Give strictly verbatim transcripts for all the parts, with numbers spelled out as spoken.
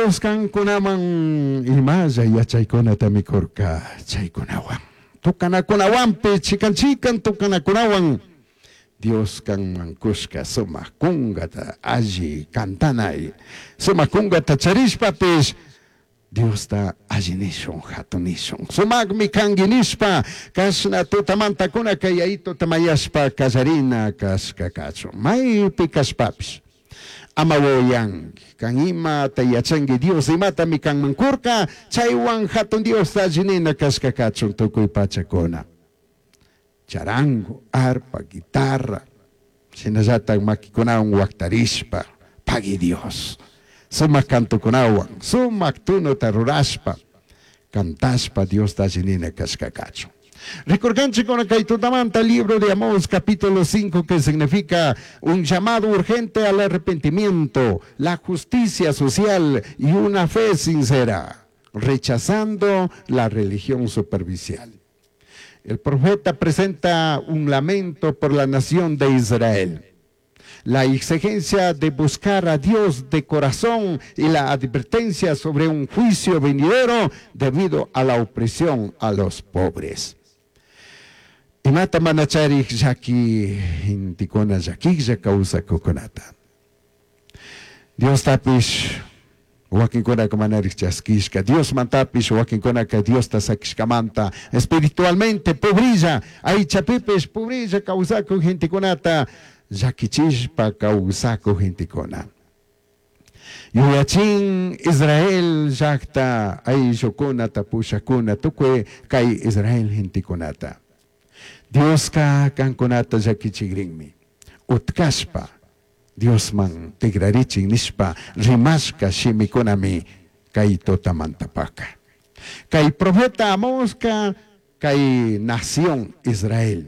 Dios kankunaman imalla yachaykunata mikurka chaykunawan. Tukanakunawanpi chikan chikan tukanakunawan Dios kanman kushka sumak kunkata alli kantanay sumak kunkata charishpapish Diosta alli nishun hatun nishun sumakmi kanki nishpa kashna tutamantakuna kay yayituta mayashpa kallarina kashka kachun maypi kashpapish ama wawayanki kan imata yachanki Dios imatami kanman kurka chaywan hatun Diosta alli nina kashka kachun tukuy pachakuna charango, arpa, guitarra, shinallatak makikunawan waktarishpa, pagui Dios. Sumak kantukunawan, sumak tunuta rurashpa, cantashpa Diosta alli nina kashka kachun. Rikurkanchik kay tutamanta libro de Amós capítulo cinco, que significa un llamado urgente al arrepentimiento, la justicia social y una fe sincera, rechazando la religión superficial. El profeta presenta un lamento por la nación de Israel, la exigencia de buscar a Dios de corazón y la advertencia sobre un juicio venidero debido a la opresión a los pobres. Imata mana charij llaki gentekuna llakilla kawsakukunata. Diostapish wakinkunaka manarik chaskishka, Diosmantapish wakinkunaka Diosta sakishkamanta espiritualmente pobrilla, aychapipish pobrilla kawsakuk gentekunata llakichishpa kawsakuk gentekuna. Yuyachin Israel llakta ayllukunata pushakuna tukuy kay Israel gentekunata. Dioska kankunata llakichikrinmi. Utkashpa Diosman tigrarichin nishpa rimashka shimikunami kay tutamantapaka. Kay profeta Amoska kay nación Israel.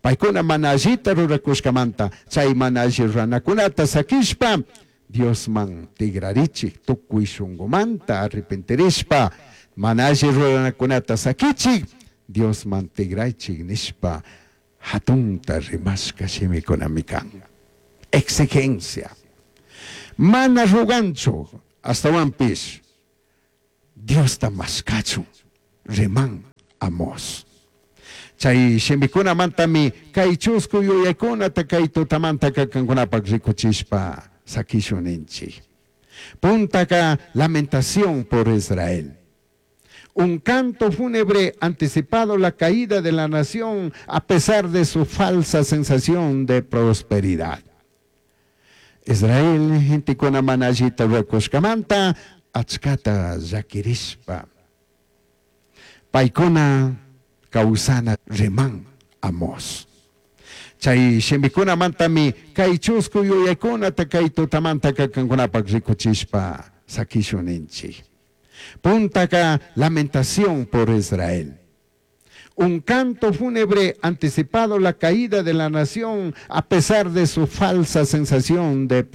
Paykuna mana allita rurakushkamanta chay mana alli ruranakunata sakishpa Diosman tigrarichik tukuy shunkumanta arrepentirishpa mana alli ruranakunata sakichik Diosman tigraychik nishpa hatunta rimashka shimikunami kan. Exigencia. Mana ruganchu astawanpish Diosta mashkachun riman Amos. Chay shimikunamantami kay chusku yuyaykunata kay tutamanta kankunapak rikuchishpa sakishun ninchik. Puntaka lamentación por Israel. Un canto fúnebre anticipado la caída de la nación a pesar de su falsa sensación de prosperidad. Israel gentekuna mana allita rurakushkamanta achkata llakirishpa. Paykuna kawsana riman Amos. Chay shimikunamantami kay chusku yuyaykunata kay tutamanta kankunapak rikuchishpa sakishun ninchik. Puntaka lamentación por Israel. Un canto fúnebre anticipado la caída de la nación a pesar de su falsa sensación de prosperidad.